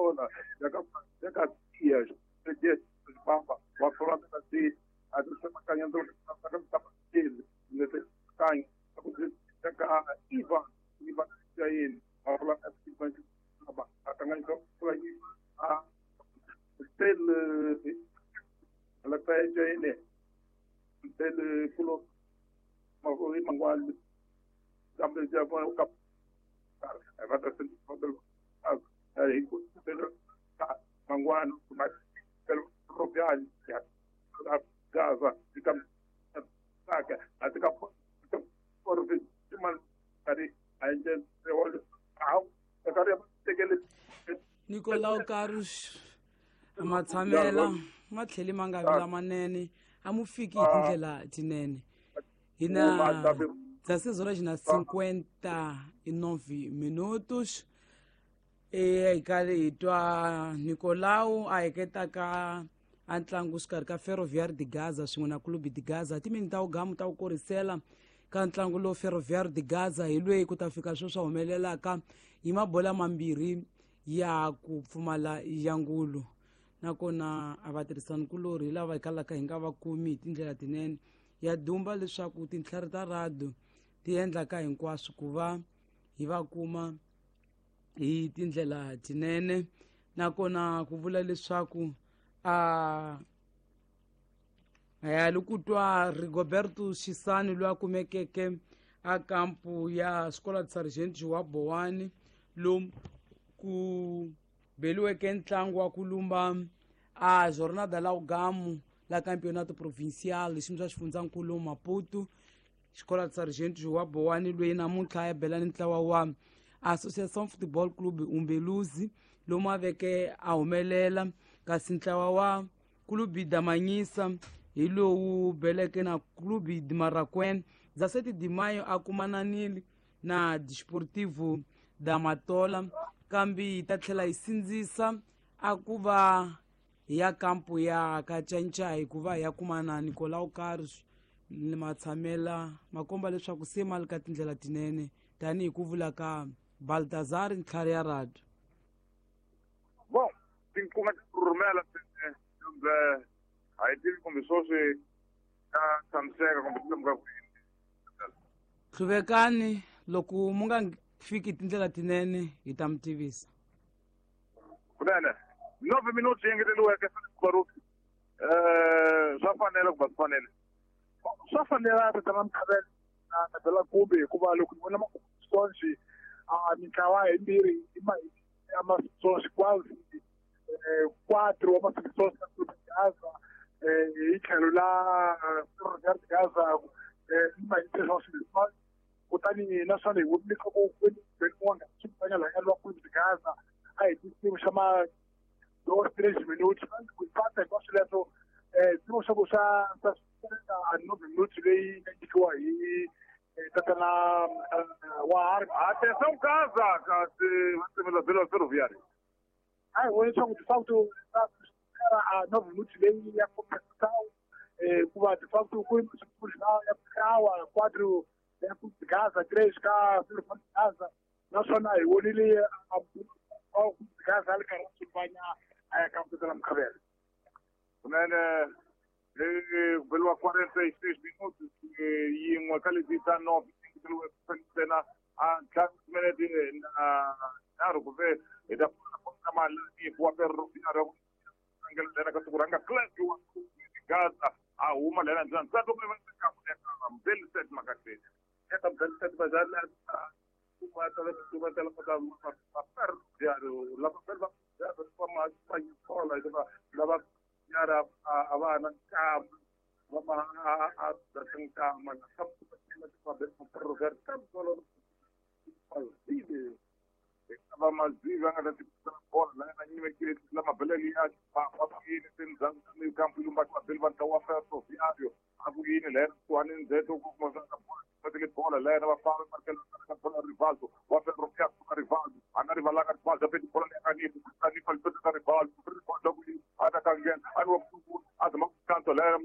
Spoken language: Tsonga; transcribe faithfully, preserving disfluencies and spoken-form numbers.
Matola ya ka ya ka Dias Papa wa Florida C a Ivan Ivan Jain Nicolau Carlos matshamela ma tlheli ma nga vi lamanene a mu fiki hi tindlela tinene hina dezesseis horas na cinquenta e nove minutos e hi karhi hi twa Nicolau a heketaka a ntlangu xikarhi ka Ferroviário de Gaza swin'we na Clube de Gaza timini ta wugamu ta wu korisela ka ntlangu lowu Ferroviário de Gaza hi lweyi ku ta fika sweswi humelelaka hi mabola mambirhi ya ku pfumala ya ngulu nakona a va tirhisani kulorhi hi lava hi kalaka hi nga va kumi hi tindlela tinene ya dumba leswaku tintlhari ta radio ti endlaka hinkwaswo ku va hi va kuma hi tindlela tinene nakona ku vula leswaku a ya loko twa Rigoberto Xisani loyi a kumekeke a kampu ya Escola de Sargento wa Bowani lomu ku beliweke ntlangu wa ku lumba a Jornada la Ugamu la Campeonato Provincial xiyimo xa xifundzankulu Maputo Escola de Sargento wa Bowani loyi namuntlha ya bela ni ntlawa wa Associação Futebol Clube Umbeluzi lomu a veke a humelela kasi ntlawa wa Clube da Manhisa hi lowu beleke na Clube de Marraquém dezessete de maio a kumananile na Desportivo da Matola kambe yi ta tlhela yi sindzisa a ku va ya kampu ya Kacanca hikuva ya kuma na Nicolau Carlos matshamela makomba leswaku se mali ka tindlela tinene tanihi ku vula ka Baltazar ntlhari ya radio. Bom, tinkunga rhumela kumbe a hi tivi kumbe sweswi ta tshamiseka kumbe tilemuka kwini. Hluvekani loko mu nga fiki tindlela tinene hi ta mi tivisa. Kunene nove minuti yi engeteriweke Baruti eh swa fanele ku va swi fanele swa fanela tatana Mkhabela na na Bela Kumbe hikuva loko ni vona masonji a mintlawa yimbirhi i ma ya masonji quase quatro wa masonji na Clube de Gaza hi tlhelo la Ferroviário de Gaza i ma hi kutani naswona hi vonile leswaku kwini swifanya la lwa Clube de Gaza a hi xiyimo xa ma dos três minutos ku pata hinkwaswo leswo xiyimo xa ku xa xa a nove minutos leyi nga nyikiwa hi tatana wa Atenção Gaza kasi va tsemela bela Ferroviário a hi voni leswaku de facto a nove minutos leyi ya compensação hikuva de facto ku ya awa quatro ya Clube de Gaza três ka Ferroviário de Gaza naswona hi vonile a Clube de Gaza a ri karhi a sulfanya a ya ka tatana Mkhabela. Kunene ku beliwa quarenta e seis minutos yin'we ka leti ta nove ntsena a ntlhanu timinete na nharhu kumbe hi ta ka malani wa Ferroviário tlangela lena ka siku ranga Clube wa Gaza a huma lena ndzena ntsatu Mbeliset Makateni eka Mbeliset Bazala Ferroviário lava va va lava yara a va na nkama va ma a a nkama na va mazivi a nga ta tikisa bola la na nyimekile la mabeleli ya va yini tindzhaku ta mikampu lumba mabeli va ntlawa wa Ferroviário a ku yini lena kuhani ndzheto ku kuma swa bola bola lena va famba markela ka bola Rivaldo wa Ferroviário ka Rivaldo a nga rivalanga Rivaldo a peti bola leyi nga nifu a nifa lipeta ka Rivaldo Rivaldo ku a ta ka nghena a ni wa ku a zama ku kanto lena